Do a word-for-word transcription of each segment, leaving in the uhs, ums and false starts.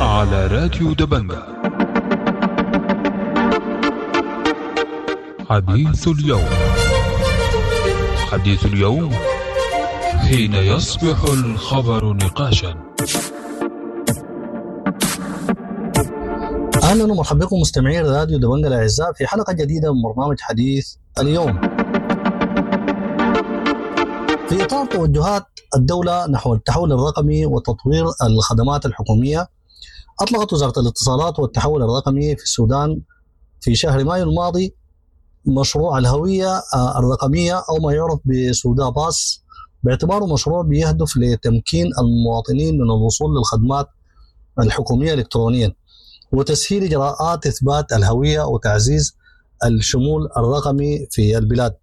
على راديو دبنجة. حديث اليوم، حديث اليوم حين يصبح الخبر نقاشا. اهلا ومرحبا بكم مستمعين راديو دبنجة الاعزاء في حلقة جديدة من برنامج حديث اليوم. في اطار توجهات الدولة نحو التحول الرقمي وتطوير الخدمات الحكومية، اطلقت وزارة الاتصالات والتحول الرقمي في السودان في شهر مايو الماضي مشروع الهوية الرقمية او ما يعرف بسودا باس، باعتباره مشروع بيهدف لتمكين المواطنين من الوصول للخدمات الحكومية الكترونيا وتسهيل اجراءات اثبات الهوية وتعزيز الشمول الرقمي في البلاد.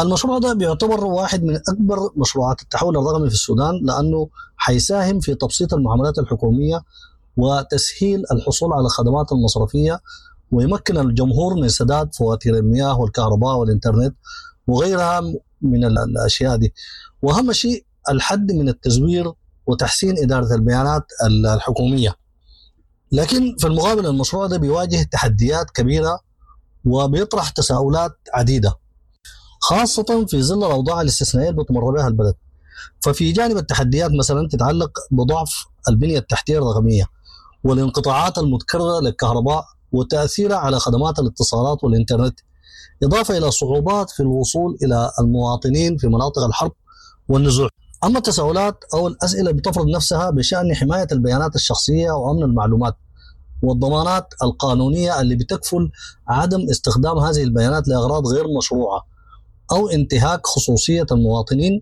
المشروع ده بيعتبر واحد من اكبر مشروعات التحول الرقمي في السودان، لانه حيساهم في تبسيط المعاملات الحكومية وتسهيل الحصول على الخدمات المصرفية، ويمكن الجمهور من سداد فواتير المياه والكهرباء والانترنت وغيرها من الاشياء دي. واهم شيء الحد من التزوير وتحسين ادارة البيانات الحكومية. لكن في المقابل المشروع ده بيواجه تحديات كبيرة وبيطرح تساؤلات عديدة، خاصة في ظل الاوضاع الاستثنائية اللي بتمر بها البلد. ففي جانب التحديات مثلا تتعلق بضعف البنية التحتية الرقمية والانقطاعات المتكررة للكهرباء وتاثيرها على خدمات الاتصالات والانترنت، اضافه الى صعوبات في الوصول الى المواطنين في مناطق الحرب والنزوح. اما التساؤلات او الاسئلة بتفرض نفسها بشان حماية البيانات الشخصية وامن المعلومات والضمانات القانونية اللي بتكفل عدم استخدام هذه البيانات لاغراض غير مشروعه او انتهاك خصوصية المواطنين،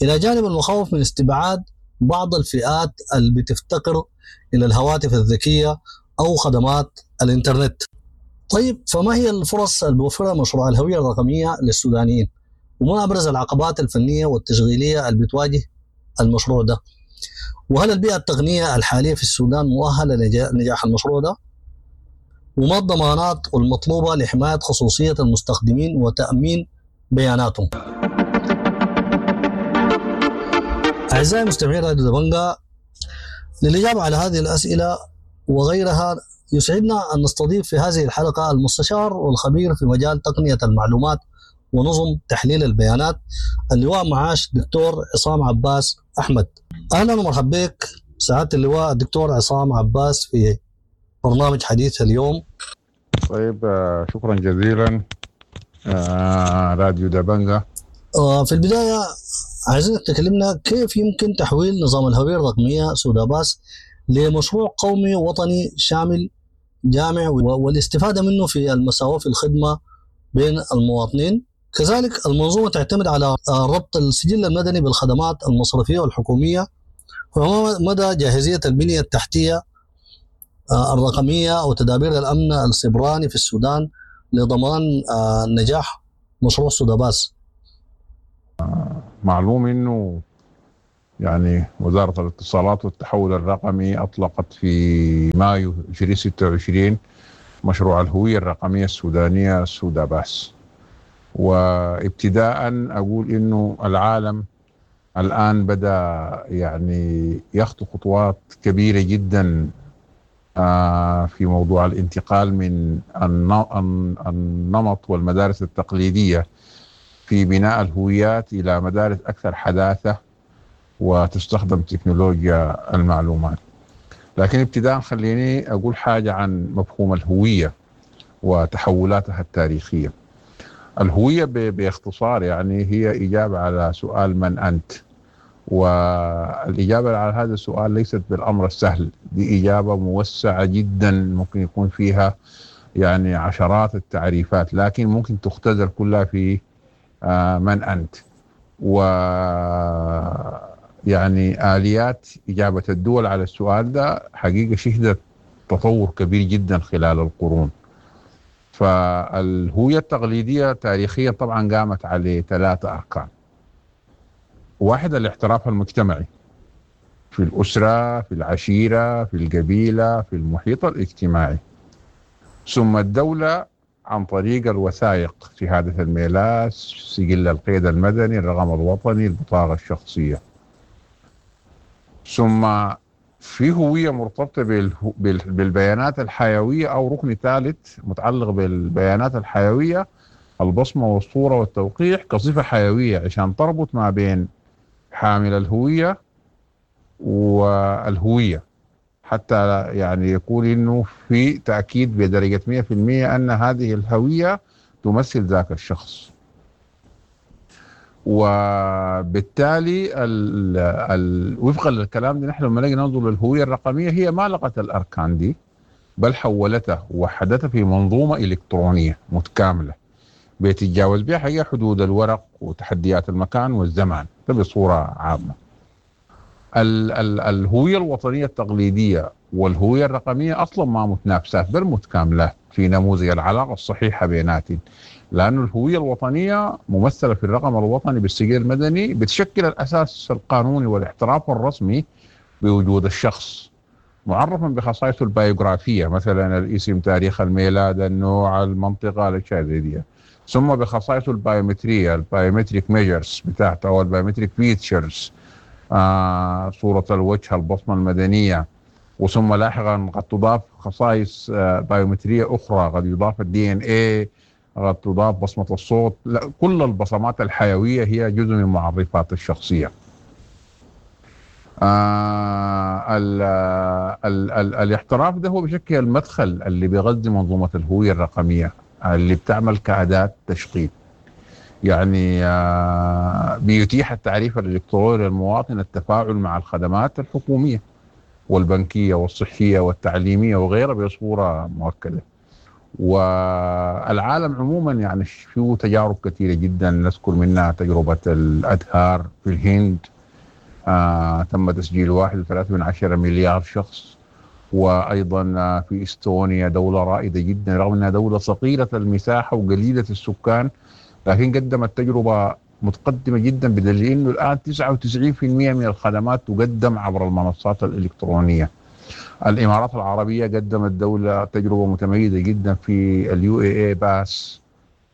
الى جانب المخاوف من استبعاد بعض الفئات اللي بتفتقر الى الهواتف الذكية او خدمات الانترنت. طيب، فما هي الفرص اللي بيوفرها مشروع الهوية الرقمية للسودانيين؟ وما ابرز العقبات الفنية والتشغيليه اللي بتواجه المشروع ده؟ وهل البيئة التقنية الحالية في السودان مؤهلة لنجاح المشروع ده؟ وما الضمانات المطلوبة لحماية خصوصية المستخدمين وتامين بياناتهم؟ اعزائي مستمعي راديو دبنجة، للاجابة على هذه الاسئلة وغيرها يسعدنا ان نستضيف في هذه الحلقة المستشار والخبير في مجال تقنية المعلومات ونظم تحليل البيانات اللواء معاش دكتور عصام عباس احمد. اهلا ومرحبا بك سعادة اللواء الدكتور عصام عباس في برنامج حديث اليوم. طيب، شكرا جزيلا راديو دبنجة. في البداية عايزينك تكلمنا كيف يمكن تحويل نظام الهوية الرقمية سوداباس لمشروع قومي وطني شامل جامع والاستفادة منه في المساواة في الخدمة بين المواطنين. كذلك المنظومة تعتمد على ربط السجل المدني بالخدمات المصرفية والحكومية، فما مدى جاهزية البنية التحتية الرقمية وتدابير الأمن السيبراني في السودان لضمان نجاح مشروع سوداباس؟ معلوم انه يعني وزارة الاتصالات والتحول الرقمي أطلقت في مايو ألفين وستة وعشرين مشروع الهوية الرقمية السودانية سوداباس. وابتداء أقول إنه العالم الآن بدأ يعني يخطو خطوات كبيرة جدا في موضوع الانتقال من النمط والمدارس التقليدية في بناء الهويات إلى مدارس أكثر حداثة وتستخدم تكنولوجيا المعلومات. لكن ابتداء خليني أقول حاجة عن مفهوم الهوية وتحولاتها التاريخية. الهوية باختصار يعني هي إجابة على سؤال من أنت، والإجابة على هذا السؤال ليست بالأمر السهل، دي إجابة موسعة جدا ممكن يكون فيها يعني عشرات التعريفات، لكن ممكن تختزل كلها في من أنت. و يعني آليات إجابة الدول على السؤال ده حقيقة شهدت تطور كبير جدا خلال القرون. فالهوية التقليدية تاريخيا طبعا قامت على ثلاثة أركان. واحد، الاعتراف المجتمعي في الأسرة، في العشيرة، في القبيلة، في المحيط الاجتماعي. ثم الدولة عن طريق الوثائق، شهادة الميلاد، سجل القيد المدني، الرقم الوطني، البطاقة الشخصية. ثم في هوية مرتبطة بالبيانات الحيوية أو ركن ثالث متعلق بالبيانات الحيوية، البصمة والصورة والتوقيع كصفة حيوية عشان تربط ما بين حامل الهوية والهوية، حتى يعني يكون إنه في تأكيد بدرجة مئة في المئة أن هذه الهوية تمثل ذاك الشخص. وبالتالي ال ال وفقا للكلام ده نحن لما نجي ننظر للهوية الرقمية هي ما لغت الأركان دي، بل حولتها ووحدتها في منظومة إلكترونية متكاملة بيتجاوز بها حقيقة حدود الورق وتحديات المكان والزمان ده بصورة عامة. ال ال الهوية الوطنية التقليدية والهوية الرقمية أصلا ما متنافسات بل متكاملات في نموذج العلاقة الصحيحة بيناتهم، لأن الهوية الوطنية ممثلة في الرقم الوطني بالسجل المدني بتشكل الأساس القانوني والاحتراف الرسمي بوجود الشخص، معرفا بخصائصه البايوغرافية مثلا الاسم، تاريخ الميلاد، النوع، المنطقة، الأشياء زي دي، ثم بخصائصه البايومترية ال biometric measures بتاعته أو ال biometric features، آه، صورة الوجه، البصمة المدنية، وثم لاحقا قد تضاف خصائص آه بايومترية أخرى، قد يضاف ال DNA، قد تضاف بصمة الصوت. لا، كل البصمات الحيوية هي جزء من معرفات الشخصية. آه ال ال ال الاحتراف ده هو بشكل المدخل اللي بيغذي منظومة الهوية الرقمية اللي بتعمل كأداة تشغيل، يعني آه بيتيح التعريف الإلكتروني للمواطن التفاعل مع الخدمات الحكومية والبنكية والصحية والتعليمية وغيرها بصورة مؤكدة. والعالم عموما يعني فيه تجارب كثيرة جدا، نذكر منها تجربة الأدهار في الهند، آه تم تسجيل واحد وثلاثة من عشرة مليار شخص، وأيضا في إستونيا دولة رائدة جدا رغم أنها دولة صغيرة المساحة وقليلة السكان، لكن قدمت تجربة متقدمة جدا بدليل أنه الآن تسعة وتسعين بالمئة من الخدمات تقدم عبر المنصات الإلكترونية. الإمارات العربية قدمت دولة تجربة متميزة جدا في ال UAE Pass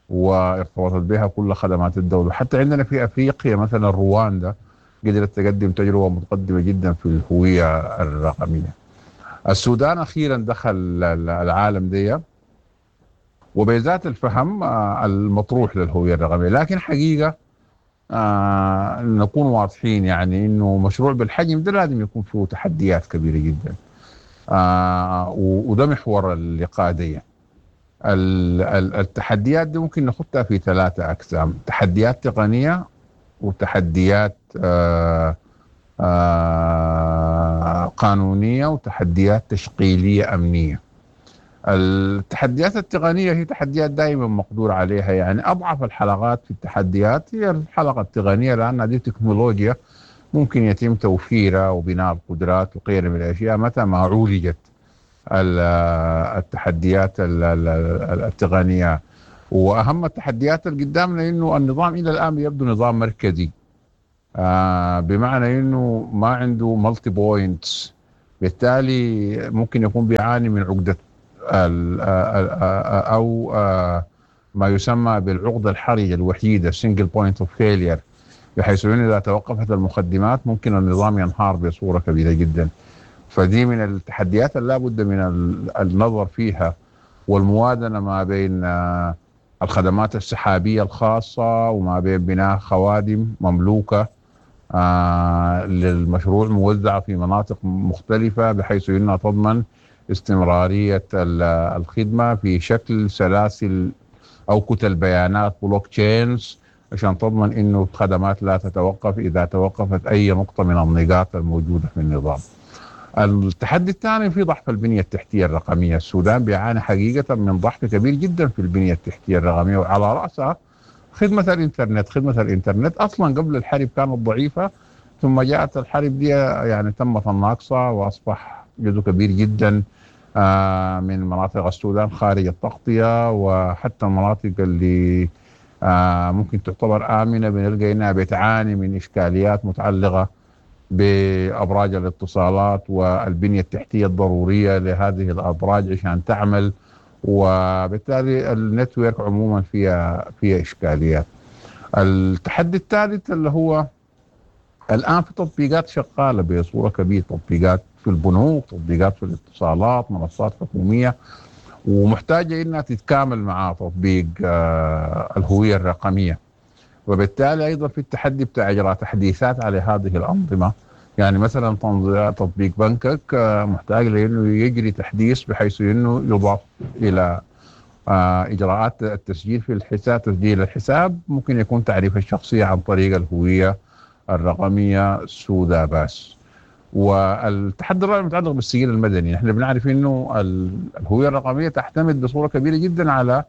وارتبطت بها كل خدمات الدولة. حتى عندنا في أفريقيا مثلا رواندا قدرت تقدم تجربة متقدمة جدا في الهوية الرقمية. السودان أخيرا دخل العالم دي وبذات الفهم المطروح للهوية الرقمية، لكن حقيقة آه نكون واضحين يعني إنه مشروع بالحجم ده لازم يكون فيه تحديات كبيرة جدا، آه وده محور اللقاء دي. التحديات دي ممكن نخطها في ثلاثة أقسام: تحديات تقنية، وتحديات آه آه قانونية، وتحديات تشغيلية أمنية. التحديات التقنية هي تحديات دائما مقدور عليها، يعني أضعف الحلقات في التحديات هي الحلقة التقنية، لأنها دي تكنولوجيا ممكن يتم توفيرها وبناء القدرات وغيرها من الأشياء متى ما عولجت التحديات التقنية. وأهم التحديات اللي قدامنا إنه النظام إلى الآن يبدو نظام مركزي، آه بمعنى إنه ما عنده multi points، بالتالي ممكن يكون بيعاني من عقدة أو ما يسمى بالعقدة الحرجة الوحيدة single point of failure، بحيث إنه إذا توقفت المخدمات ممكن النظام ينهار بصورة كبيرة جدا. فدي من التحديات اللي لابد من النظر فيها والموازنة ما بين الخدمات السحابية الخاصة وما بين بناء خوادم مملوكة للمشروع موزعة في مناطق مختلفة بحيث إنها تضمن استمرارية الخدمة في شكل سلاسل أو كتل بيانات blockchains، عشان تضمن إنه الخدمات لا تتوقف إذا توقفت أي نقطة من النقاط الموجودة في النظام. التحدي الثاني في ضعف البنية التحتية الرقمية. السودان بيعاني حقيقة من ضعف كبير جدا في البنية التحتية الرقمية، وعلى رأسها خدمة الإنترنت. خدمة الإنترنت أصلا قبل الحرب كانت ضعيفة، ثم جاءت الحرب دي يعني تمت الناقصة، وأصبح جزء كبير جدا من مناطق السودان خارج التغطية، وحتى المناطق اللي ممكن تعتبر آمنة بنلقى إنها بتعاني من إشكاليات متعلقة بأبراج الاتصالات والبنية التحتية الضرورية لهذه الأبراج عشان تعمل، وبالتالي النتورك عموما فيها فيها إشكاليات. التحدي الثالث اللي هو الآن في تطبيقات شغالة بصورة كبيرة، تطبيقات في البنوك، تطبيقات في الاتصالات، منصات حكومية، ومحتاجة إنها تتكامل مع تطبيق آه، الهوية الرقمية. وبالتالي أيضا في التحدي بتاع إجراء تحديثات على هذه الأنظمة. يعني مثلا تطبيق بنكك آه، محتاج لأنه يجري تحديث بحيث إنه يضاف إلى آه، إجراءات التسجيل في الحساب. تسجيل الحساب ممكن يكون تعريف الشخصية عن طريق الهوية الرقمية سوداباس. والتحدي الرابع متعلق بالسجل المدني. نحن بنعرف انه الهوية الرقمية تعتمد بصورة كبيرة جدا على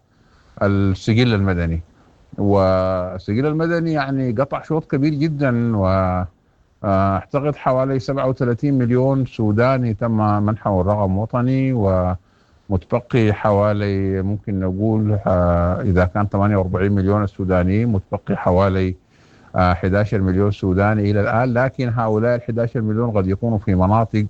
السجل المدني، والسجل المدني يعني قطع شوط كبير جدا، واعتقد حوالي سبعة وثلاثين مليون سوداني تم منحه الرقم وطني، ومتبقي حوالي ممكن نقول اذا كان ثمانية وأربعين مليون السودانيين، متبقي حوالي أحد عشر مليون سوداني إلى الآن. لكن هؤلاء ال أحد عشر مليون قد يكونوا في مناطق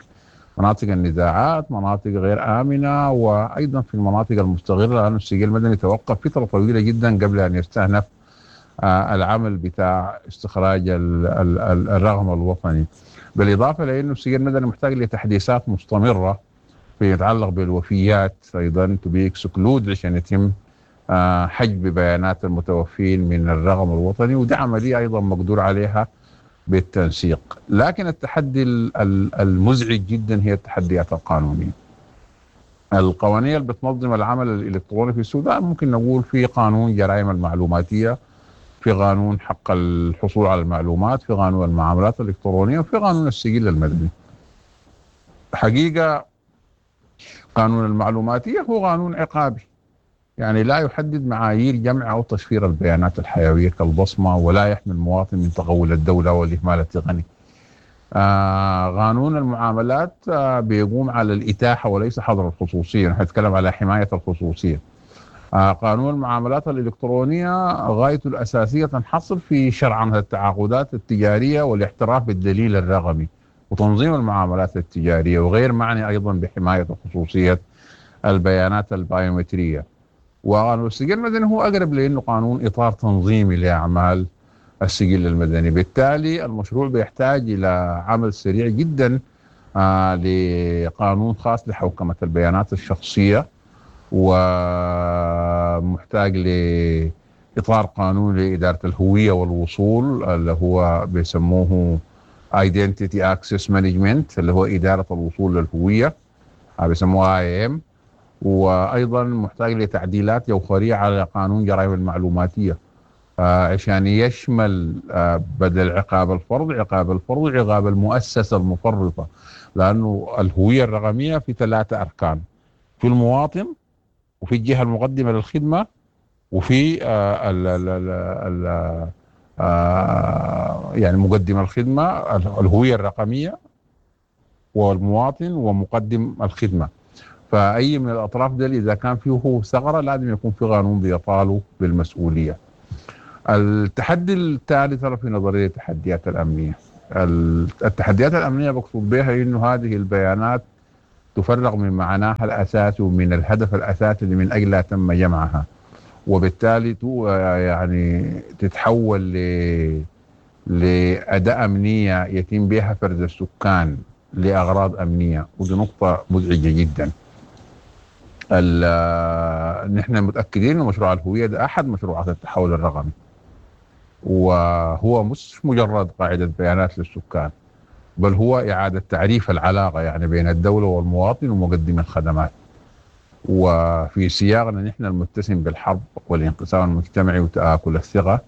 مناطق النزاعات، مناطق غير آمنة، وأيضا في المناطق المستغرة، لأن السجل المدني توقف فترة طويلة جدا قبل أن يستأنف العمل بتاع استخراج الرقم الوطني. بالإضافة لأنه السجل المدني محتاج لتحديثات مستمرة في يتعلق بالوفيات أيضا، to be excluded عشان يتم حجب بيانات المتوفين من الرقم الوطني، ودي عملية أيضا مقدور عليها بالتنسيق. لكن التحدي المزعج جدا هي التحديات القانونية. القوانين اللي بتنظم العمل الإلكتروني في السودان ممكن نقول في قانون جرائم المعلوماتية، في قانون حق الحصول على المعلومات، في قانون المعاملات الإلكترونية، وفي قانون السجل المدني. حقيقة قانون المعلوماتية هو قانون عقابي، يعني لا يحدد معايير جمع أو تشفير البيانات الحيوية كالبصمة، ولا يحمي المواطن من تغول الدولة والإهمال التقني. آه قانون المعاملات آه بيقوم على الإتاحة وليس حظر الخصوصية، نحن نتكلم على حماية الخصوصية. آه قانون المعاملات الإلكترونية غايته الأساسية تنحصر في شرعنة التعاقدات التجارية والاحتراف بالدليل الرقمي وتنظيم المعاملات التجارية، وغير معني أيضا بحماية خصوصية البيانات البايومترية. وقانون السجل المدني هو أقرب لأنه قانون إطار تنظيمي لأعمال السجل المدني. بالتالي المشروع بيحتاج إلى عمل سريع جدا آه لقانون خاص لحوكمة البيانات الشخصية، ومحتاج لإطار قانون لإدارة الهوية والوصول اللي هو بيسموه Identity Access Management، اللي هو إدارة الوصول للهوية بيسموها آي إم. وأيضا محتاج لتعديلات جوهرية على قانون جرائم المعلوماتية آه عشان يشمل آه بدل عقاب الفرد عقاب الفرد عقاب المؤسسة المفرطة، لأنه الهوية الرقمية في ثلاثة أركان: في المواطن، وفي الجهة المقدمة للخدمة، وفي آه ال ال ال ال آه يعني مقدم الخدمة، الهوية الرقمية والمواطن ومقدم الخدمة. فأي من الأطراف دي إذا كان فيه ثغرة لازم يكون في قانون بيطاله بالمسؤولية. التحدي الثالث في نظرية التحديات الأمنية. التحديات الأمنية بقصد بها إنه هذه البيانات تفرغ من معناها الأساسي ومن الهدف الأساسي اللي من أجلها تم جمعها، وبالتالي يعني تتحول ل لأداة أمنية يتم بها فرز السكان لأغراض أمنية، ودي نقطة مزعجة جدا. نحن متأكدين أن مشروع الهوية ده أحد مشروعات التحول الرقمي، وهو مش مجرد قاعدة بيانات للسكان، بل هو إعادة تعريف العلاقة يعني بين الدولة والمواطن ومقدم الخدمات. وفي سياقنا نحن المتسم بالحرب والانقسام المجتمعي وتآكل الثقة،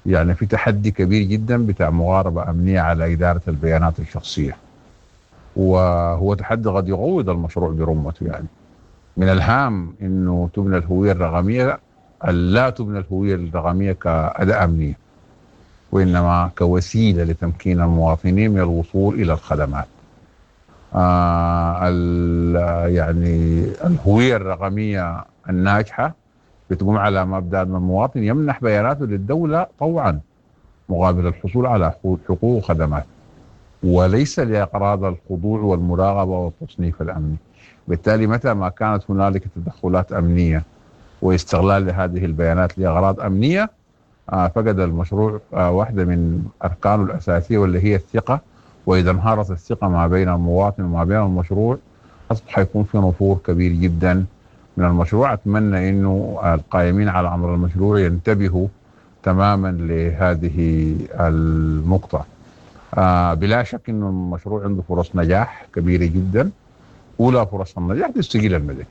يعني في تحدي كبير جدا بتاع مقاربة أمنية على إدارة البيانات الشخصية، وهو تحدي قد يقوض المشروع برمته. يعني من الهام انه تبنى الهوية الرقمية، لا تبنى الهوية الرقمية كأداة أمنية، وإنما كوسيلة لتمكين المواطنين من الوصول إلى الخدمات. آه يعني الهوية الرقمية الناجحة بتقوم على مبدأ أن المواطن يمنح بياناته للدولة طوعا مقابل الحصول على حقوق وخدمات، وليس لأغراض الخضوع والمراقبة والتصنيف الأمني. بالتالي متى ما كانت هنالك تدخلات أمنية واستغلال لهذه البيانات لأغراض أمنية، فقد المشروع واحدة من أركانه الأساسية واللي هي الثقة، وإذا انهارت الثقة ما بين المواطن وما بين المشروع أصبح حيكون في نفور كبير جدا من المشروع. أتمنى أنه القائمين على أمر المشروع ينتبهوا تماما لهذه النقطة. آه بلا شك أنه المشروع عنده فرص نجاح كبيرة جدا. أولى فرص النجاح دي السجل المدني.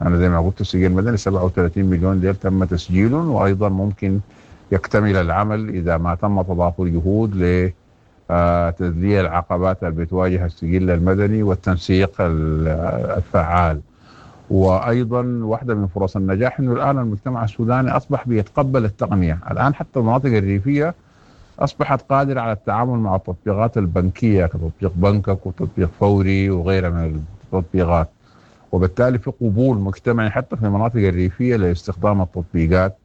أنا زي ما قلت السجل المدني سبعة وثلاثين مليون ديل تم تسجيلهم، وأيضا ممكن يكتمل العمل إذا ما تم تضافر جهود لتذليل العقبات اللي بتواجه السجل المدني والتنسيق الفعال. وأيضا واحدة من فرص النجاح أنه الآن المجتمع السوداني أصبح بيتقبل التقنية. الآن حتى المناطق الريفية أصبحت قادرة على التعامل مع التطبيقات البنكية كتطبيق بنكك وتطبيق فوري وغيرها من التطبيقات، وبالتالي في قبول مجتمعي حتى في المناطق الريفية لاستخدام التطبيقات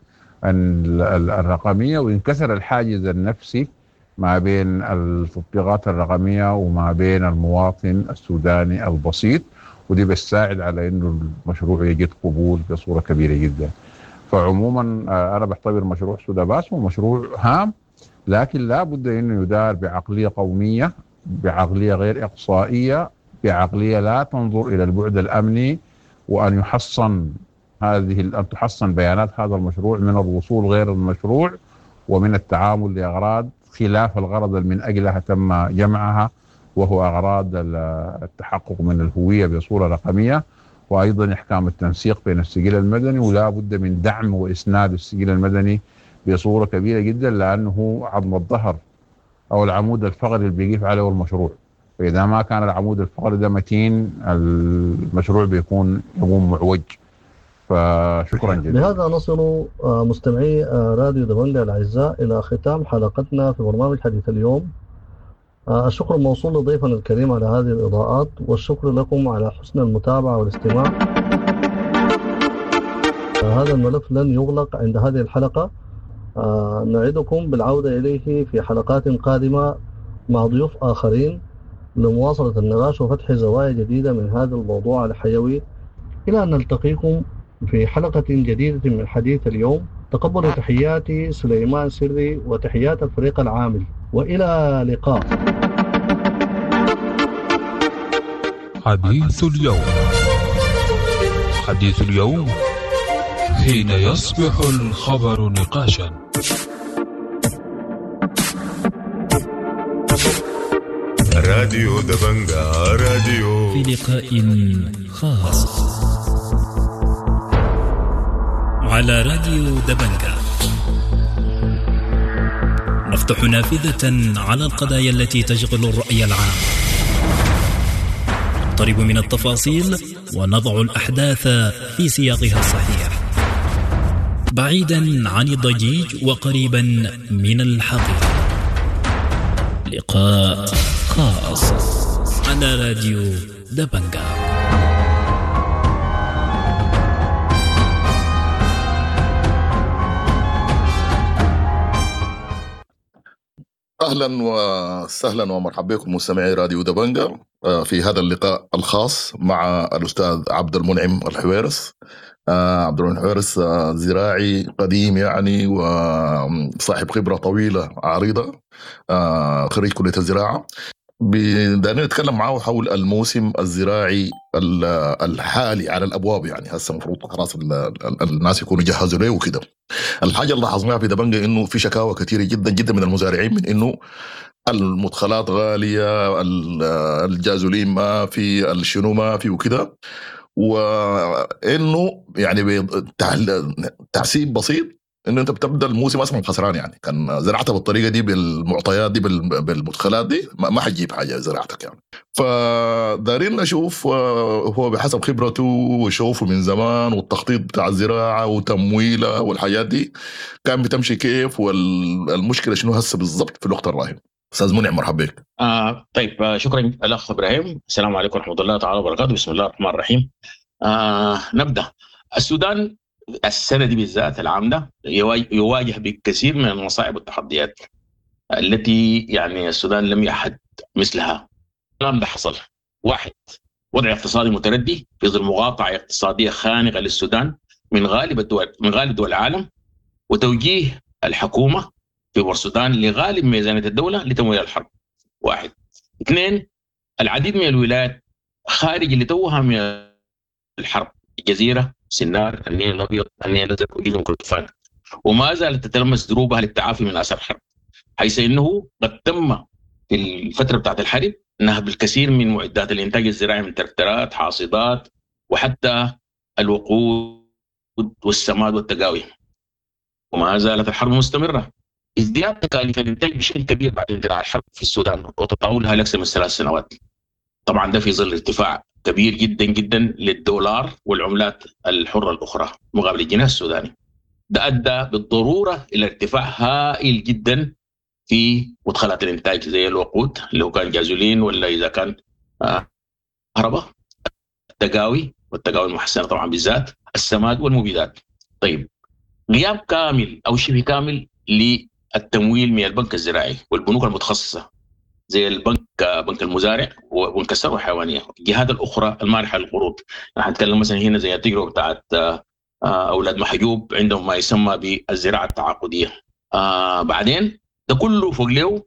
الرقمية، وانكسر الحاجز النفسي ما بين التطبيقات الرقمية وما بين المواطن السوداني البسيط، ودي بتساعد على انه المشروع يجد قبول بصورة كبيرة جدا. فعموما انا بعتبر مشروع سوداباس هو مشروع هام، لكن لا بد انه يدار بعقلية قومية، بعقلية غير اقصائية، بعقلية لا تنظر الى البعد الامني، وان يحصن هذه ان تحصن بيانات هذا المشروع من الوصول غير المشروع ومن التعامل لاغراض خلاف الغرض من اجلها تم جمعها، وهو اغراض التحقق من الهوية بصورة رقمية، وايضا احكام التنسيق بين السجل المدني، ولا بد من دعم واسناد السجل المدني بصورة كبيرة جدا، لانه عظم الظهر او العمود الفقري اللي بيقف عليه المشروع. فاذا ما كان العمود الفقري ده متين المشروع بيكون يقوم معوج. فشكرا جزيلا. بهذا نصل مستمعي راديو دبنجا الاعزاء الى ختام حلقتنا في برنامج حديث اليوم. الشكر موصول لضيفنا الكريم على هذه الإضاءات، والشكر لكم على حسن المتابعة والاستماع. هذا الملف لن يغلق عند هذه الحلقة، نعدكم بالعودة إليه في حلقات قادمة مع ضيوف آخرين لمواصلة النقاش وفتح زوايا جديدة من هذا الموضوع الحيوي. إلى أن نلتقيكم في حلقة جديدة من حديث اليوم، تقبلوا تحياتي سليمان سري وتحيات الفريق العامل، وإلى لقاء. حديث اليوم، حديث اليوم حين يصبح الخبر نقاشا. راديو دبنجا راديو في لقاء خاص على راديو دبنجا نفتح نافذة على القضايا التي تشغل الرأي العام، نقترب من التفاصيل ونضع الأحداث في سياقها الصحيح، بعيدا عن الضجيج وقريبا من الحقيقة. لقاء خاص على راديو دبنجا. اهلا وسهلا ومرحبا بكم مستمعي راديو دبنجا في هذا اللقاء الخاص مع الاستاذ عبد المنعم الحويرس. عبد المنعم الحويرس زراعي قديم يعني وصاحب خبره طويلة عريضة، خريج كليه الزراعة. بدنا نتكلم معه حول الموسم الزراعي الحالي على الابواب، يعني هسه المفروض خلاص الناس يكونوا جهزوا له وكده. الحاجة اللي لاحظناها في دبنجا انه في شكاوى كثيرة جدا جدا من المزارعين من انه المدخلات غالية، الجازولين ما في، الشنو ما في وكده، وانه يعني بتحسيب بسيط انه انت بتبدا الموسم اصلا خسران، يعني كان زرعتها بالطريقة دي بالمعطيات دي بالمدخلات دي ما حتجيب حاجة زراعتك يعني. فدارين نشوف هو بحسب خبرته وشوفه من زمان والتخطيط بتاع الزراعة وتمويلها والحاجات دي كان بتمشي كيف، والمشكلة شنو هسه بالضبط في الوقت الراهن. استاذ منعم مرحبا بك. آه طيب شكرا الاخ ابراهيم، السلام عليكم ورحمة الله تعالى وبركاته. بسم الله الرحمن الرحيم. آه نبدا. السودان السنة دي بالذات العام ده يواجه بكثير من المصاعب والتحديات التي يعني السودان لم يعهد مثلها. الكلام ده حصل: واحد، وضع اقتصادي متردي في ظل مقاطعة اقتصادية خانقة للسودان من غالب الدول من غالب دول العالم، وتوجيه الحكومة في بورسودان لغالب ميزانية الدولة لتمويل الحرب. واحد. اثنين، العديد من الولايات خارج اللي توها من الحرب، الجزيرة، سنار، النيل الأبيض، النيل الأزرق وجزء من كردفان، وما زالت تتلمس دروبها للتعافي من آثار الحرب، حيث إنه قد تم في الفترة بتاعت الحرب نهب الكثير من معدات الإنتاج الزراعي من تركترات، حاصدات، وحتى الوقود والسماد والتقاوي، وما زالت الحرب مستمرة. ازدياد تكاليف الإنتاج بشكل كبير بعد اندلاع الحرب في السودان وتطاولها لأكثر من ثلاث سنوات. طبعا ده في ظل ارتفاع كبير جدا جدا للدولار والعملات الحرة الأخرى مقابل الجنيه السوداني. ده أدى بالضرورة إلى ارتفاع هائل جدا في مدخلات الإنتاج زي الوقود اللي هو كان جازولين ولا إذا كان كهرباء، التقاوي والتقاوي المحسنة طبعا بالذات، السماد والمبيدات. طيب، غياب كامل أو شبه كامل للتمويل من البنك الزراعي والبنوك المتخصصة زي البنك بنك المزارع وبنك الثروة الحيوانية، الجهات الأخرى المانحة للقروض. نحن نتكلم مثلا هنا زي التجربة بتاعت أولاد محجوب، عندهم ما يسمى بالزراعة التعاقدية. آه بعدين ده كله فوق له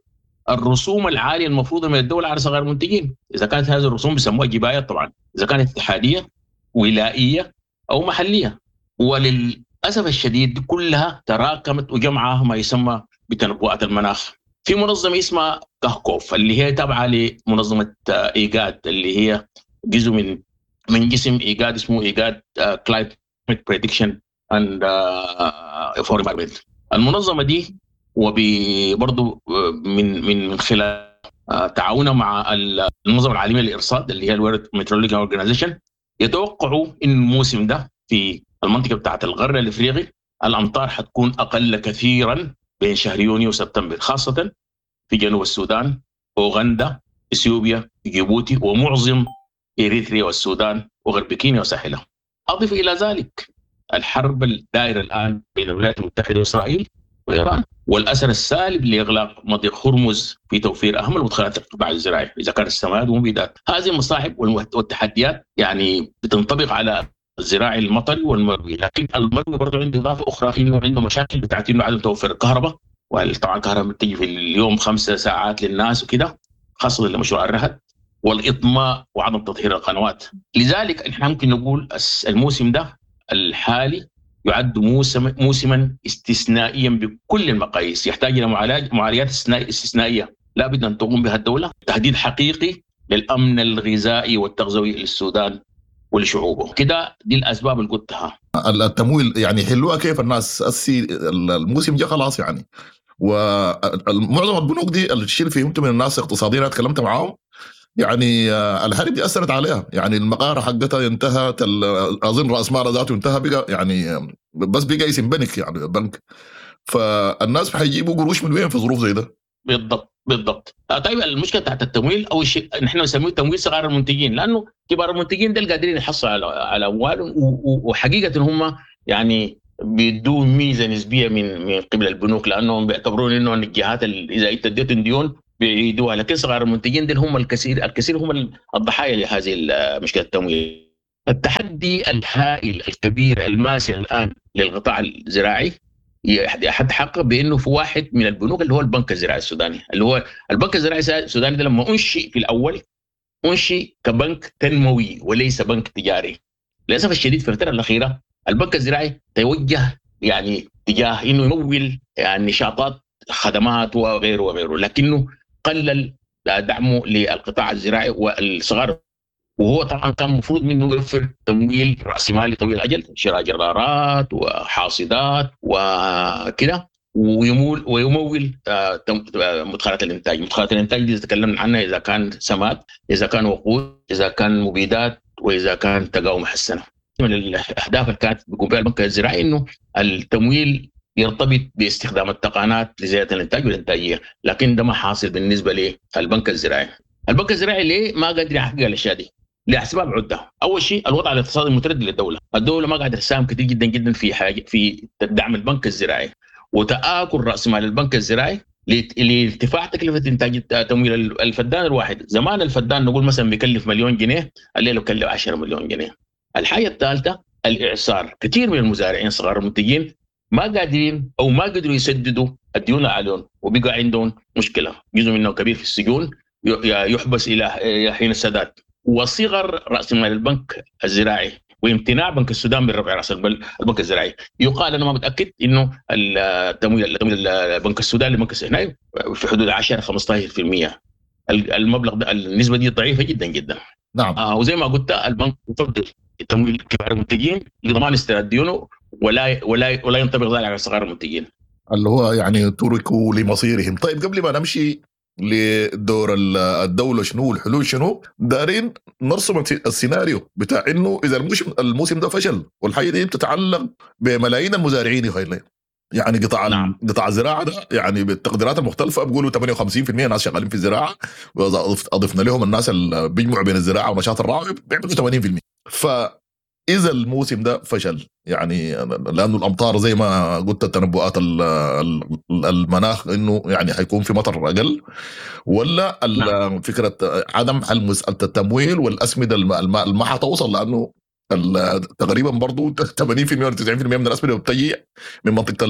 الرسوم العالية المفروضة من الدولة على صغار المنتجين، إذا كانت هذه الرسوم بيسموها جباية طبعا، إذا كانت اتحادية ولائية أو محلية. وللأسف الشديد كلها تراكمت وجمعها ما يسمى بتنبؤات المناخ. في منظمة اسمها كهكوف اللي هي تابعة لمنظمة إيجاد، اللي هي جزء من من جسم إيجاد اسمه إيجاد Climate Prediction and for Environment. المنظمة دي وبرضه من من من خلال تعاونها مع المنظمة العالمية للإرصاد اللي هي ال World Meteorological Organization، يتوقعوا إن الموسم ده في المنطقة بتاعت الغرب الإفريقي الأمطار حتكون أقل كثيرا بين شهر يونيو وسبتمبر، خاصة في جنوب السودان، أوغندا، إثيوبيا، جيبوتي، ومعظم إريتريا والسودان وغرب كينيا وساحلها. أضف إلى ذلك الحرب الدائرة الآن بين الولايات المتحدة وإسرائيل وإيران، والأثر السالب لإغلاق مضيق هرمز في توفير أهم المدخلات القطاع الزراعي إذا كان السماد والمبيدات. هذه المصاعب والتحديات يعني بتنطبق على الزراعي المطري والمروي، لكن المروي برضه عنده إضافة أخرى إنه عنده مشاكل بتاعت إنه عدم توفير الكهرباء، وطبعا الكهرباء بتيجي في اليوم خمسة ساعات للناس وكده، خاصة لمشروع الرهد والإطماء وعدم تطهير القنوات. لذلك نحن ممكن نقول الموسم ده الحالي يعد موسم موسما استثنائيا بكل المقاييس، يحتاج إلى معالجات استثنائية لا بد أن تقوم بها الدولة، تهديد حقيقي للأمن الغذائي والتغذوي للسودان ولشعوبه. كده دي الأسباب اللي قلتها. التمويل يعني حلوها كيف الناس السي الموسم جاء خلاص يعني، ومعظم البنوك دي الشيء اللي فهمته من الناس اقتصاديين تكلمت معاهم يعني الحرب دي أثرت عليها، يعني المقارة حقتها انتهت، أظن رأس مالها ذاته انتهى، بقى يعني بس بقى اسم بنك يعني بنك، فالناس حيجيبوا قروش من وين في ظروف زي ده؟ بالضبط بالضبط. طيب المشكلة تحت التمويل، اول شيء نحن نسميه تمويل صغار المنتجين، لانه كبار المنتجين دول قادرين يحصلوا على على اموالهم، وحقيقة هم يعني بيدوا ميزة نسبيه من من قبل البنوك، لانهم بيعتبرون انه الجهات اذا انت اديتهم ديون بيعيدوها، لكن صغار المنتجين دول هم الكثير الكثير هم الضحايا لهذه مشكلة التمويل. التحدي الهائل الكبير الماسع الان للقطاع الزراعي يتحقق بانه في واحد من البنوك اللي هو البنك الزراعي السوداني، اللي هو البنك الزراعي السوداني ده لما انشئ في الاول انشئ كبنك تنموي وليس بنك تجاري. للاسف الشديد في الفترة الاخيرة البنك الزراعي توجه يعني تجاه انه يمول يعني نشاطات خدمات وغيره وغيره، لكنه قلل دعمه للقطاع الزراعي والصغار، وهو طبعا كان المفروض منه يوفر تمويل راسمالي طويل الاجل، شراء جرارات وحاصدات وكده، ويمول ويمول مدخلات الانتاج. مدخلات الانتاج دي تكلمنا عنها، اذا كان سماد، اذا كان وقود، اذا كان مبيدات، واذا كان تقاوم محسنة. من الاهداف اللي كانت بيقوم بها البنك الزراعي انه التمويل يرتبط باستخدام التقنيات لزيادة الانتاج والانتاجية، لكن ده ما حاصل بالنسبة للبنك الزراعي. البنك الزراعي ليه ما قادر يحقق الاشياء دي؟ لاسباب عده. اول شيء الوضع الاقتصادي المتردي للدولة، الدولة ما قاعدة تساهم كثير جدا جدا في حاجة في دعم البنك الزراعي، وتآكل راس مال البنك الزراعي لارتفاع تكلفة انتاج تمويل الفدان الواحد. زمان الفدان نقول مثلا بيكلف مليون جنيه، الليلة بيكلف عشرة مليون جنيه. الحاجة الثالثة الاعصار، كثير من المزارعين صغار المنتجين ما قادرين او ما قدروا يسددوا الديون عليهم، وبقى عندهم مشكلة، جزء منهم كبير في السجون يحبس الى حين السداد، وصغر راس مال البنك الزراعي وامتناع بنك السودان من رفع راس البنك الزراعي. يقال انا ما متاكد انه التمويل تمويل بنك السودان لبنك السودان في حدود عشرة خمسة عشر بالمئة. المبلغ ده النسبة دي ضعيفة جدا جدا. نعم. آه وزي ما قلت البنك يفضل تمويل كبار المنتجين لضمان استرداد ديونه، ولا ولا ولا ينطبق ذلك على صغار المنتجين اللي هو يعني تركوا لمصيرهم. طيب قبل ما نمشي لدور الدولة شنو والحلول شنو، دارين نرسم السيناريو بتاع انه اذا الموسم الموسم ده فشل، والحاجة دي بتتعلق بملايين المزارعين يا يعني قطاع نعم. قطاع الزراعة ده يعني بالتقديرات المختلفة بيقولوا ثمانية وخمسين بالمئة ناس شغالين في الزراعة، واضفنا لهم الناس اللي بيجمعوا بين الزراعة ونشاط الرعي بيعملوا ثمانين بالمئة. فاذا الموسم ده فشل يعني لانه الامطار زي ما قلت التنبؤات المناخ انه يعني حيكون في مطر اقل، ولا نعم. فكرة عدم حل مسالة التمويل والاسمده الماء ما حتوصل، لانه تقريبا برضو ثمانين بالمئة ولا تسعين بالمئة من الاسمده بتجي من منطقة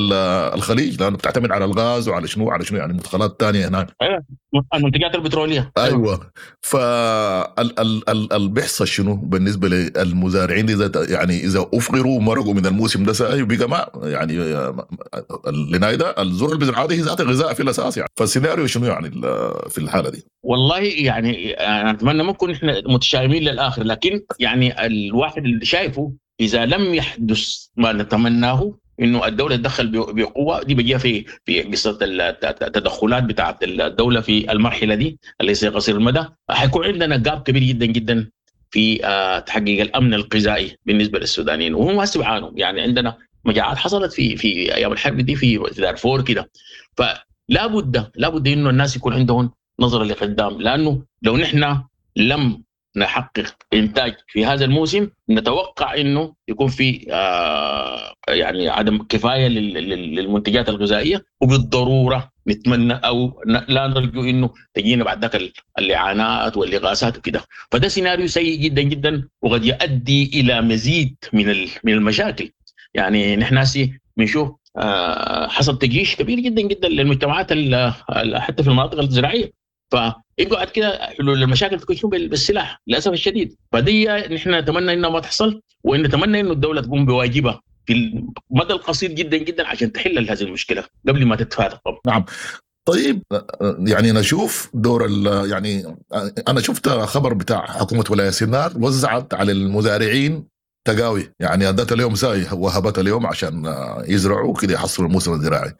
الخليج، لانه بتعتمد على الغاز وعلى شنو على شنو يعني مدخلات ثانية هناك. ايوه المنتجات البتروليه. ايوه فال بيحصل شنو بالنسبة للمزارعين اذا يعني اذا افقروا ومرقوا من الموسم ده ساي وبقى ما يعني لنايدا الزرع اللي هذه ذات غذاء في الاساس يعني، فالسيناريو شنو يعني في الحالة دي؟ والله يعني انا اتمنى ما نكون احنا متشائمين للاخر، لكن يعني الواحد اللي شايفه اذا لم يحدث ما نتمناه انه الدولة تدخل بقوة، دي بيجيها في في قصة التدخلات بتاعه الدولة في المرحلة دي اللي هي قصير المدى، حيكون عندنا جاب كبير جدا جدا في تحقيق الامن الغذائي بالنسبة للسودانيين، وهم هسه بيعانوا. يعني عندنا مجاعات حصلت في في ايام الحرب دي في دارفور كده، فلا بد لا بد انه الناس يكون عندهم نظره لقدام، لانه لو نحن لم نحقق انتاج في هذا الموسم نتوقع انه يكون في آه يعني عدم كفاية للمنتجات الغذائية، وبالضروره نتمنى او لا نرجو انه تجينا بعد ذاك الاعانات والاغاثات وكده. فده سيناريو سيء جدا جدا وقد يؤدي الى مزيد من من المشاكل. يعني نحن هسي بنشوف آه حصل تجيش كبير جدا جدا للمجتمعات حتى في المناطق الزراعية، فيقعد كده حلول المشاكل تكون شنو بالسلاح للاسف الشديد. فدي نحن نتمنى انها ما تحصل، وان نتمنى انه الدولة تقوم بواجبها في المدى القصير جدا جدا عشان تحل هذه المشكلة قبل ما تتفاقم. نعم. طيب يعني نشوف دور يعني انا شفت خبر بتاع حكومة ولاية سنار وزعت على المزارعين تقاوي، يعني ادت اليوم ساي وهبت اليوم عشان يزرعوا كده يحصلوا الموسم الزراعي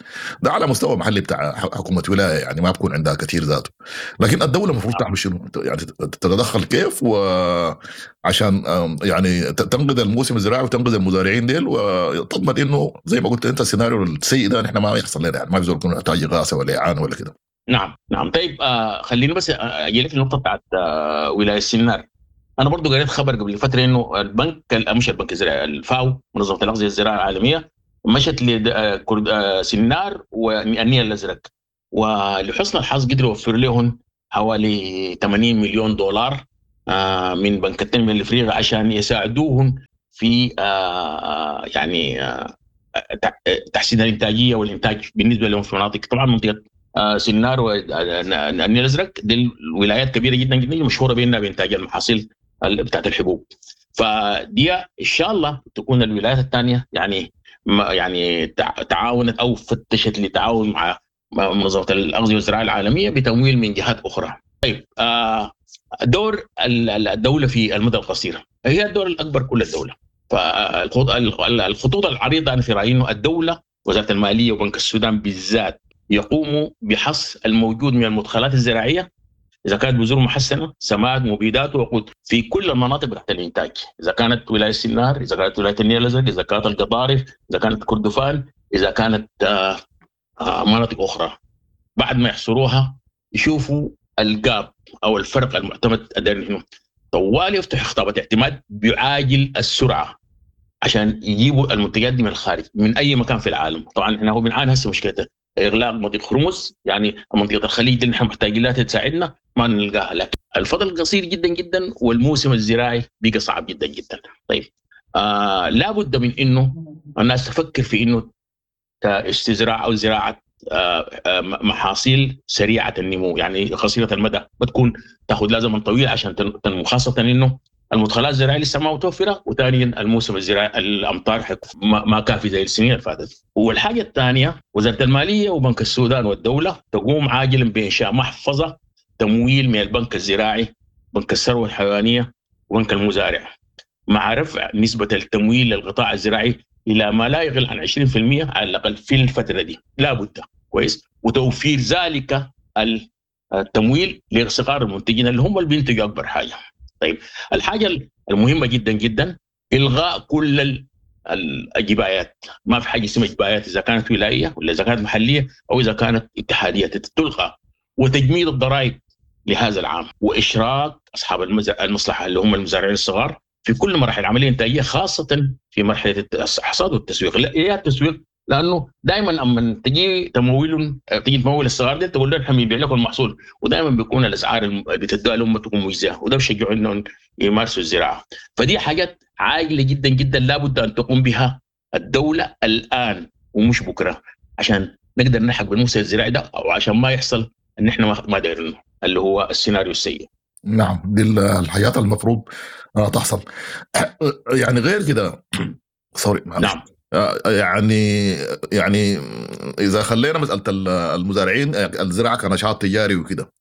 ده على مستوى محلي بتاع حكومة ولاية، يعني ما بكون عندها كثير ذاته. لكن الدولة المفروض تعمل شنو؟ يعني تتدخل كيف وعشان يعني تنقذ الموسم الزراعي وتنقذ المزارعين ديل، وتضمن انه زي ما قلت انت السيناريو السيء ده نحن ما يحصل لنا، يعني ما في زول يكون محتاج اغاثه ولا اعانه ولا كده. نعم نعم. طيب آه خليني بس اجي لك النقطة بتاعت آه ولاية السنار. انا برضو قريت خبر قبل فترة انه البنك مش البنك الزراعي، الفاو منظمة الاغذية الزراعية العالمية مشت لسنار والنيل الازرق، ولحسن الحظ قدروا يوفر لهم حوالي ثمانين مليون دولار من بنك التنمية الافريقي عشان يساعدوهم في يعني تحسين الانتاجية والانتاج بالنسبة لهم في مناطق، طبعا منطقة سنار والنيل الازرق دي الولايات كبيرة جدا جدا مشهورة بانها بانتاج المحاصيل بتاعت الحبوب. فدي ان شاء الله تكون الولايات الثانية يعني يعني تعاونت او فتشت لتعاون مع منظمة الاغذية والزراعة العالمية بتمويل من جهات اخرى. طيب دور الدولة في المدى القصير هي الدور الاكبر كل الدولة. فالخطوط العريضة انا في رايي انه الدولة وزارة المالية وبنك السودان بالذات يقوموا بحصر الموجود من المدخلات الزراعية اذا كانت بذور محسنة، سماد، مبيدات، وقود في كل المناطق تحت الانتاج، اذا كانت ولاية السنار، اذا كانت ولاية النيل الازرق، اذا كانت القضارف، اذا كانت كردفان، اذا كانت آه آه مناطق اخرى. بعد ما يحصروها يشوفوا الجاب او الفرق المعتمد الدائري طوال يفتح خطابات اعتماد بعاجل السرعة عشان يجيبوا المنتجات دي من الخارج من اي مكان في العالم. طبعا احنا هو بنعاني هسه مشكلته اغلاق مضيق هرمز، يعني منطقة الخليج اللي نحن محتاجين لها تساعدنا ما نلقاها، لكن الفضل قصير جدا جدا والموسم الزراعي بقى صعب جدا جدا. طيب آه لابد من انه الناس تفكر في انه استزراع او زراعة محاصيل سريعة النمو، يعني قصيرة المدى، بتكون تاخذ لها زمن طويل عشان تنمو، خاصة انه المدخلات الزراعية لسه ما متوفرة، وثانيا الموسم الزراعي الامطار ما كافي زي السنين اللي فاتت. والحاجة الثانية وزارة المالية وبنك السودان والدولة تقوم عاجلا بانشاء محفظة تمويل من البنك الزراعي، بنك الثروة الحيوانية، وبنك المزارع، مع رفع نسبه التمويل للقطاع الزراعي الى ما لا يقل عن عشرين بالمئة على الاقل في الفترة دي، لابد. كويس. وتوفير ذلك التمويل لصغار المنتجين اللي هم اللي بينتجوا اكبر حاجة. طيب الحاجة المهمة جدا جدا الغاء كل الجبايات، ما في حاجة اسمها جبايات اذا كانت ولاية ولا اذا كانت محليه او اذا كانت اتحادية، تلغى، وتجميد الضرائب لهذا العام، واشراك اصحاب المصلحة اللي هم المزارعين الصغار في كل مراحل العملية الانتاجية، خاصة في مرحلة الحصاد والتسويق. لا يا التسويق، لانه دائما اما تجي تمويل تجي تمول الصغار دي تقول لهم احنا بنبيع لكم المحصول، ودائما بيكون الاسعار اللي بتدوها لهم تكون مجزية، وده بيشجعوا انهم يمارسوا الزراعة. فدي حاجات عاجله جدا جدا لابد ان تقوم بها الدولة الان ومش بكره، عشان نقدر نلحق بالموسم الزراعي ده، او عشان ما يحصل ان احنا ما دايرينه اللي هو السيناريو السيء. نعم، دي الحياة المفروض تحصل. يعني غير كده سوري معلش. نعم. يعني يعني اذا خلينا مسالة المزارعين الزراعة كنشاط تجاري وكده،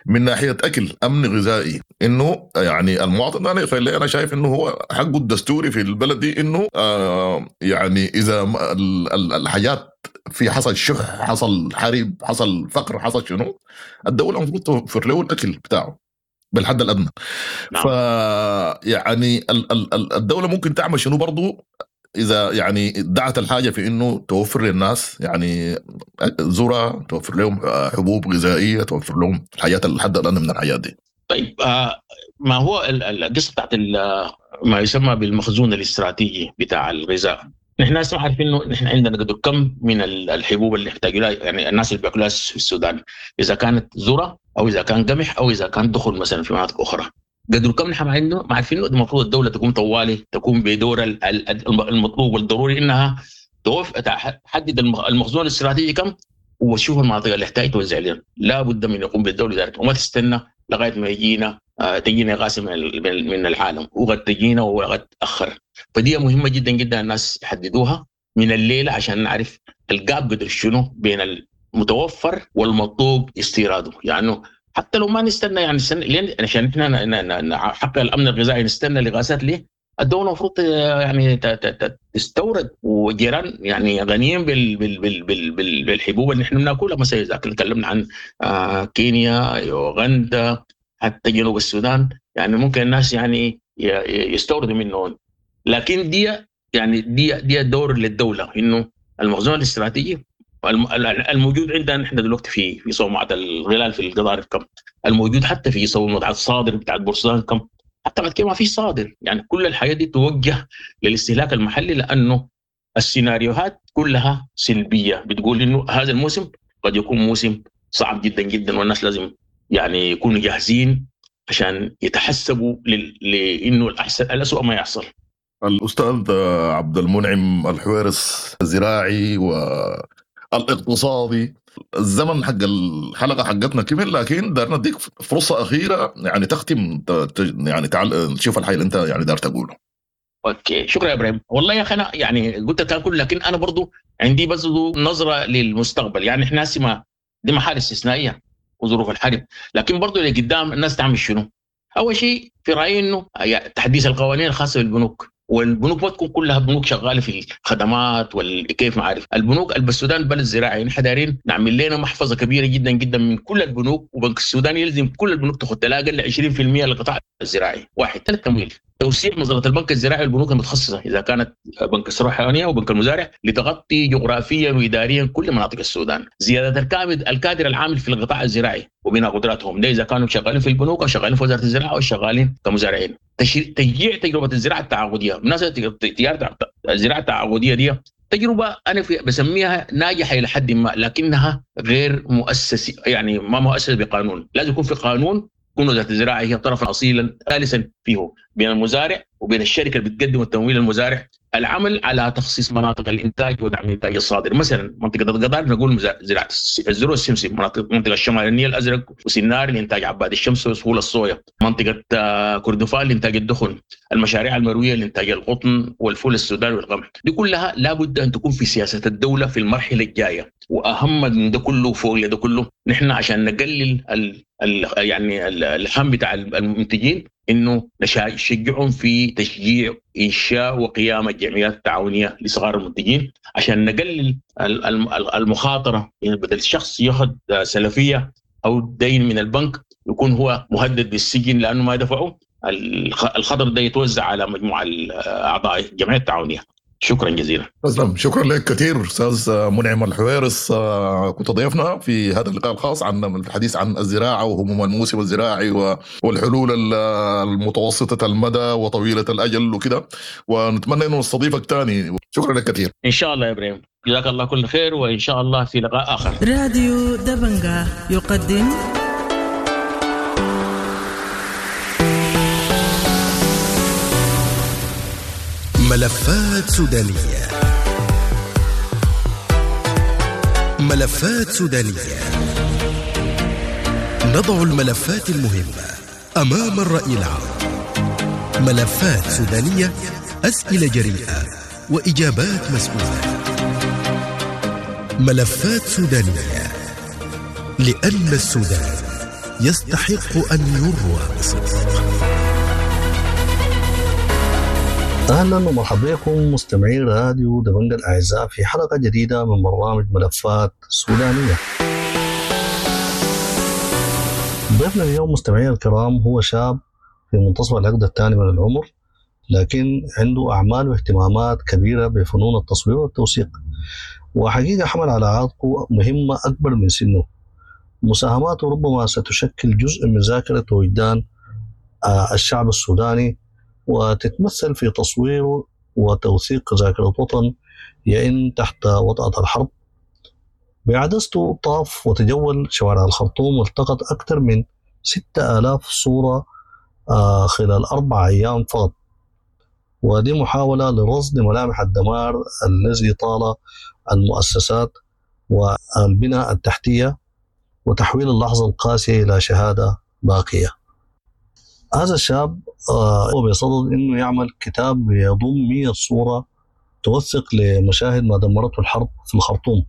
من ناحية اكل امن غذائي، انه يعني المواطن انا انا شايف انه هو حقه الدستوري في البلد دي، انه يعني اذا الحاجات في حصل شح، حصل حرب، حصل فقر، حصل شنو، الدولة المفروض توفر له الاكل بتاعه بالحد الادنى. نعم. ف يعني الدولة ممكن تعمل شنو برضو إذا يعني دعت الحاجة في إنه توفر للناس يعني ذرة، توفر لهم حبوب غذائية، توفر لهم الحياة الحد الأدنى من الحياة دي. طيب آه ما هو القصة بتاعت ما يسمى بالمخزون الاستراتيجي بتاع الغذاء. نحن هسه عارفين إنه نحن عندنا قدر كم من الحبوب اللي نحتاج لها، يعني الناس اللي بياكلوها في السودان، إذا كانت ذرة أو إذا كان قمح أو إذا كان دخل مثلا في مناطق أخرى. قدر كم نحن عندنا ما عارفين. المفروض الدولة تقوم طوالي، تقوم بدور المطلوب والضروري انها توف تحدد المخزون الاستراتيجي كم، وتشوف المناطق اللي تحتاج توزع لنا. لا بد من يقوم بالدولة ذلك، وما تستنى لغاية ما يجينا تجينا غاز من من العالم، وقد تجينا وقد تاخر. فدي مهمة جدا جدا الناس يحددوها من الليلة عشان نعرف الجاب قدر شنو بين المتوفر والمطلوب استيراده. يعني حتى لو ما نستنى، يعني نستنى لين عشان احنا نحقق الامن الغذائي نستنى لغازات ليه؟ الدولة المفروض يعني تستورد، وجيران يعني غنيين بال بال بال بال بال بالحبوب اللي احنا بناكلها. مثلا اذا تكلمنا عن كينيا، يوغندا، حتى جنوب السودان، يعني ممكن الناس يعني يستوردوا منهم. لكن دي يعني دي دي دور للدولة، انه المخزون الاستراتيجي الموجود عندنا نحن دلوقتي في في صومعة الغلال في القضارف كم، الموجود حتى في صومعة الصادر بتاعت بورسودان كم، حتى بعد كده ما في صادر. يعني كل الحياة دي توجه للاستهلاك المحلي، لأنه السيناريوهات كلها سلبية بتقول إنه هذا الموسم قد يكون موسم صعب جدا جدا، والناس لازم يعني يكونوا جاهزين عشان يتحسبوا لأنه الأحسن الأسوأ ما يحصل. الأستاذ عبد المنعم الحويرص، الزراعي و الاقتصادي، الزمن حق الحلقة حقتنا كمل، لكن دارنا نديك فرصة اخيرة يعني تختم يعني تعال نشوف الحاجة اللي انت يعني دار تقوله. okay، شكرا يا ابراهيم. والله يا اخي انا يعني قلت الكلام كله، لكن انا برضو عندي بس نظره للمستقبل. يعني احنا هسه دي محال استثنائية وظروف الحرب، لكن برضو اللي قدام الناس تعمل شنو؟ اول شيء في رايي انه تحديث القوانين الخاصة بالبنوك، والبنوك ما تكون كلها بنوك شغالة في الخدمات والكيف ما عارف. البنوك السودان بلد زراعي، نحن دايرين نعمل لنا محفظة كبيرة جدا جدا من كل البنوك، وبنك السودان يلزم كل البنوك تاخذ لا اقل عشرين بالمئة للقطاع الزراعي. واحد. ثلاث، تمويل توسيع منظمة البنك الزراعي والبنوك المتخصصة اذا كانت بنك الثروة الحيوانية وبنك المزارع لتغطي جغرافيا واداريا كل مناطق السودان. زيادة الكادر العامل في القطاع الزراعي وبناء قدراتهم، ده اذا كانوا شغالين في البنوك او شغالين في وزارة الزراعة او شغالين كمزارعين. تشجيع تجربه الزراعة التعاقديه. بالمناسبة تجارة الزراعة التعاقديه دي تجربه انا في بسميها ناجحة الى حد ما، لكنها غير مؤسسة، يعني ما مؤسسة بقانون. لازم يكون في قانون تكون وزارة الزراعة هي طرفا اصيلا ثالثا فيه بين المزارع وبين الشركة اللي بتقدم التمويل للمزارع. العمل على تخصيص مناطق الانتاج ودعم الانتاج الصادر، مثلا منطقة القضارف نقول زراعة الذرة والسمسم، مناطق منطقة الشمال النيل الازرق وسنار لانتاج عباد الشمس وسهول الصويا، منطقة كردفان لانتاج الدخن، المشاريع المروية لانتاج القطن والفول السوداني والقمح، دي كلها لابد ان تكون في سياسة الدولة في المرحلة الجاية. واهم من ده كله فوق ده كله نحن عشان نقلل ال ال يعني الهم بتاع المنتجين انه نشجعهم في تشجيع انشاء وقيام الجمعيات التعاونية لصغار المنتجين عشان نقلل المخاطرة. يعني بدل الشخص ياخذ سلفية او دين من البنك يكون هو مهدد بالسجن لانه ما دفعه، الخطر ده يتوزع على مجموعة اعضاء الجمعية التعاونية. شكرا جزيلا. تسلم، شكرا لك كثير استاذ منعم الحويرص، كنت ضيفنا في هذا اللقاء الخاص عن الحديث عن الزراعة وهموم الموسم الزراعي والحلول المتوسطة المدى وطويلة الاجل وكده، ونتمنى انه نستضيفك ثاني. شكرا لك كثير. ان شاء الله يا ابراهيم، جزاك الله كل خير، وان شاء الله في لقاء اخر. راديو دبنجا يقدم ملفات سودانية. ملفات سودانية، نضع الملفات المهمة أمام الرأي العام. ملفات سودانية، أسئلة جريئة وإجابات مسؤولة. ملفات سودانية، لأن السودان يستحق أن يروى بصدق. اهلا ومرحبا بكم مستمعي راديو دبنجا الاعزاء في حلقة جديدة من برنامج ملفات سودانيه. ضيفنا اليوم مستمعي الكرام هو شاب في منتصف العقد الثاني من العمر، لكن عنده اعمال واهتمامات كبيرة بفنون التصوير والتوثيق، وحقيقة حمل على عاتقه مهمة اكبر من سنة. مساهماته ربما ستشكل جزء من ذاكره وجدان الشعب السوداني، وتتمثل في تصوير وتوثيق ذاكرة وطن يئن تحت وطأة الحرب. بعدسته طاف وتجول شوارع الخرطوم والتقط أكثر من ستة آلاف صورة خلال أربع أيام فقط، ودي محاولة لرصد ملامح الدمار الذي طال المؤسسات والبنى التحتية وتحويل اللحظة القاسية إلى شهادة باقية. هذا الشاب هو بصدد انه يعمل كتاب يضم مئة صورة توثق لمشاهد ما دمرته الحرب في الخرطوم،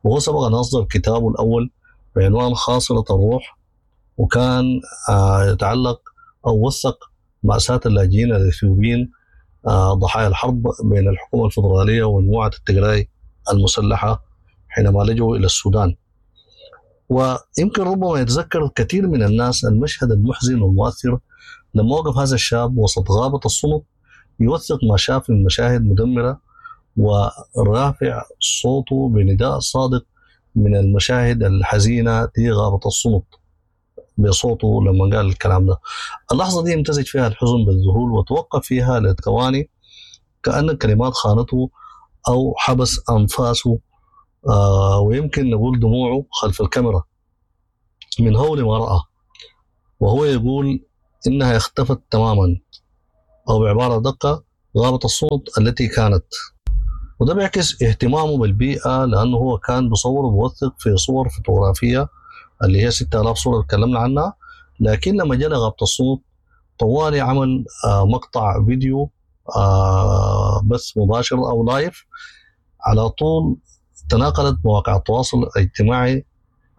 وهو سبق ان اصدر كتابه الاول بعنوان خاصرة الروح، وكان يتعلق او وثق مأساة اللاجئين الاثيوبيين ضحايا الحرب بين الحكومة الفدرالية ومجموعة التجراي المسلحة حينما لجوا الى السودان. ويمكن ربما يتذكر كثير من الناس المشهد المحزن والمؤثر لما وقف هذا الشاب وسط غابة الصمت يوثق ما شاف من مشاهد مدمرة، ورافع صوته بنداء صادق من المشاهد الحزينة دي غابة الصمت بصوته لما قال الكلام ده. اللحظة دي امتزج فيها الحزن بالذهول وتوقف فيها لثواني كأن الكلمات خانته أو حبس أنفاسه، آه ويمكن نقول دموعه خلف الكاميرا من هول ما رأى، وهو يقول إنها اختفت تماما، أو بعبارة دقة غابة الصوت التي كانت. وده بيعكس اهتمامه بالبيئة، لأنه هو كان بصور وبوثق في صور فوتوغرافية اللي هي ستة آلاف صورة تكلمنا عنها، لكن لما جاء غابة الصوت طوالي عمل آه مقطع فيديو آه بث مباشر أو لايف على طول. تناقلت مواقع التواصل الاجتماعي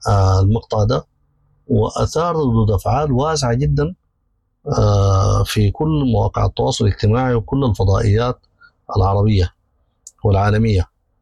آه المقطع ده، وأثار ردود أفعال واسعة جدا آه في كل مواقع التواصل الاجتماعي وكل الفضائيات العربية والعالمية.